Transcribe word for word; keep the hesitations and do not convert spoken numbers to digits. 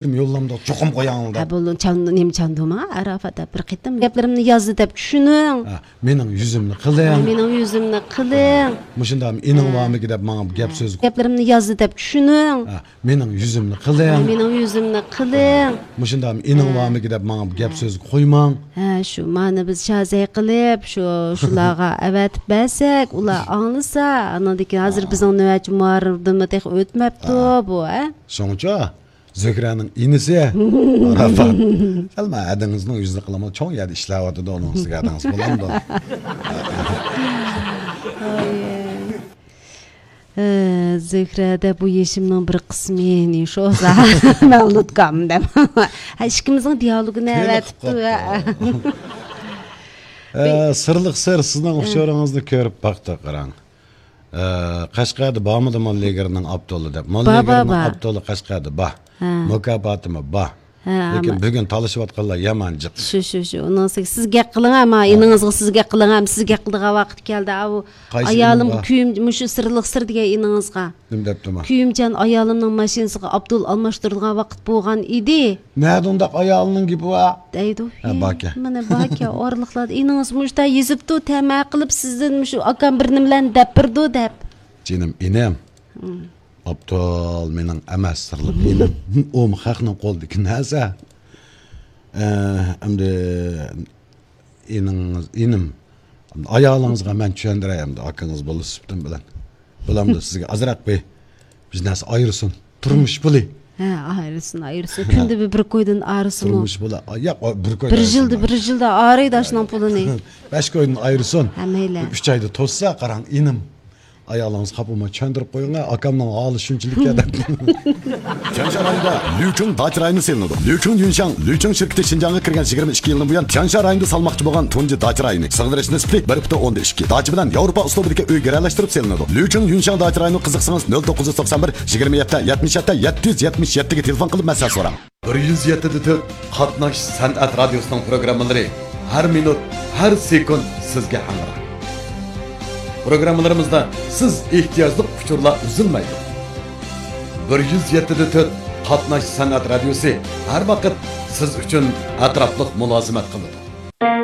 يوللامدۇق، چوقۇم قوياڭ ھە، دەپ. بولدى، چاندۇ، نېمە چاندۇما، ئاراپات دەپ بىر قېتىم گەپلىرىمنى يازدى دەپ چۈشىنىڭ. ھە، مېنىڭ يۈزۈمنى قىلىڭ. ھە، مېنىڭ يۈزۈمنى قىلىڭ. مۇشۇنداق ئىنىڭ ھە. بارمىكى دەپ ماڭا گەپ ھە. سۆز. گەپلىرىمنى يازدى دەپ چۈشىنىڭ. ھە، مېنىڭ يۈزۈمنى قىلىڭ. ھە، مېنىڭ يۈزۈمنى قىلىڭ. مۇشۇنداق ئىنىڭ ھە. بارمىكى دەپ ماڭا گەپ ھە. سۆز قويماڭ. ھە، شۇ، مانا بىز شازەي قىلىپ، شۇ، شۇلارغا ئەۋەتىپ بەرسەك، ئۇلار ئاڭلىسا، ئاناندىن كېيىن ھازىر ھە. بىزنىڭ نۆۋەتچى مۇھەررىردىنمۇ تېخى ئۆتمەپتۇ ھە. بۇ، ھە؟ شۇڭىچۇ. زۆھرەنىڭ ئىنىسى ئاراپات. سەل مانا ھەدىڭىزنىڭ يۈزىنى قىلىمۇ، چوڭ يەردە ئىشلەۋاتىدۇ، ئۇنىڭ ئۈستىگە ھەدىڭىز بولامدۇ؟ ئە، زۆھرە دە بۇ يېشىمنىڭ بىر قىسمى، نېشوزا، مەۋلۇت كام دەپ. ھە، ئىككىمىزنىڭ دىيالوگىنى كۆينى ئەۋەتىپتۇ. قىلىپ قويۇپتۇ. ئە، سىرلىق سىر، سىزنىڭ ئۇچۇرىڭىزنى كۆرۈپ باقتۇق، قاراڭ. ئە، قەشقەردە بارمىدى موللىگىرنىڭ ئاپتولى دەپ؟ بار، بار، موللىگىرنىڭ بار. ئاپتولى قەشقەردە بار. ھە. مۇكاپاتىمۇ بار. ھە، لېكىن ئەمما بۈگۈن تالىشىۋاتقانلار يامان جىق. شۇ، شۇ، شۇ. ئۇنىڭ سىز، سىز گەپ قىلىڭ، ئەمما ھە. ئىنىڭىزغا سىز گەپ قىلىڭ، ئەمما سىز گەپ قىلىدىغان ۋاقىت كەلدى. ئاۋۇ قايسى ئايالىم ئىنىڭغا؟ كۆيۈم، مۇشۇ سىرلىق سىر دېگەن ئىنىڭىزغا. نېمە دەپتىما؟ كۆيۈمجان ئايالىمنىڭ ماشىنىسىغا ئابدۇل ئالماشتۇرىدىغان ۋاقىت بولغان ئىدى. نەدە ئۇنداق ئايالىنىڭ گېپى بار؟ دەيدۇ. ھە، باركەن. مانا باركەن، ئارىلىقلاردا ئىنىڭىز مۇشۇنداق يېزىپتۇ، تەمە قىلىپ سىزدىن مۇشۇ ئاكام بىر نېمىلەرنى دەپ بېرىدۇ دەپ. جېنىم ئىنىم. ھىم. ئابدۇل مېنىڭ ئەمەس، سىرلىق ئىنىم. ئۇمۇ خەقنىڭ قولىدىكى نەرسە. ئە، ئەمدى ئىنىڭىز، ئىنىم، ئايالىڭىزغا مەن چۈشەندۈرەي ئەمدى، ئاكىڭىز بولۇش سۈپىتىم بىلەن. بۇلامدۇ سىزگە ئازراق بىر بىزنەس ئايرىسۇن. تۇرمۇش پۇلى. ھە، ئايرىسۇن، ئايرىسۇن. ھە. كۈندە بىر، بىر كويدىن ئايرىسۇنمۇ. تۇرمۇش پۇلى. ياق، بىر كويدىن بىر يىلدا، ئايرىسۇن. بىر يىلدا ئايرىيدۇ ئاشۇنىڭ پۇلىنى. بەش كويدىن ئايرىسۇن. ھە، مەيلى. ئۈچ ئايدا توشسا، قاراڭ، ئىنىم. ئايالىڭىز خاپا بولماي چۈشەندۈرۈپ قويۇڭ، ئاكامنىڭ ھالى شۇنچىلىك دەپ. تيەنشان رايونىدا لۈچۈڭ داچا رايونى سېلىنىدۇ. لۈچۈڭ يۈنشاڭ، لۈچۈڭ شىركىتى شىنجاڭغا كىرگەن يىگىرمە ئىككى يىلدىن بۇيان، تيەنشان رايونىدا سالماقچى بولغان تۇنجى داچا رايونى. سىغدۇرۇش نىسبىتى بىر پۈتۈن ئوندىن ئىككى. داچا بىلەن ياۋروپا ئۇسلۇبىدىكى ئۆي گىرەلەشتۈرۈپ سېلىنىدۇ. لۈچۈڭ يۈنشاڭ داچا رايونىغا قىزىقسىڭىز، نۆل توققۇز يۈز توقسان بىر، يىگىرمە يەتتە، يەتمىش يەتتە، يەتتە يۈز يەتمىش يەتتىگە تېلېفون قىلىپ مەسلىھەت سوراڭ. بىر يۈز يەتتە دە تۆت قاتناش سەنئەت رادىيوسىنىڭ پروگراممىلىرى ھەر مىنۇت، ھەر سېكۇنت سىزگە ھەمراھ. پروگراممىلىرىمىزدا سىز ئېھتىياجلىق ئۇچۇرلار ئۈزۈلمەيدۇ. بىر يۈز يەتتە دە تۆت قاتناش سەنئەت رادىيوسى ھەر ۋاقىت سىز ئۈچۈن ئەتراپلىق مۇلازىمەت قىلىدۇ.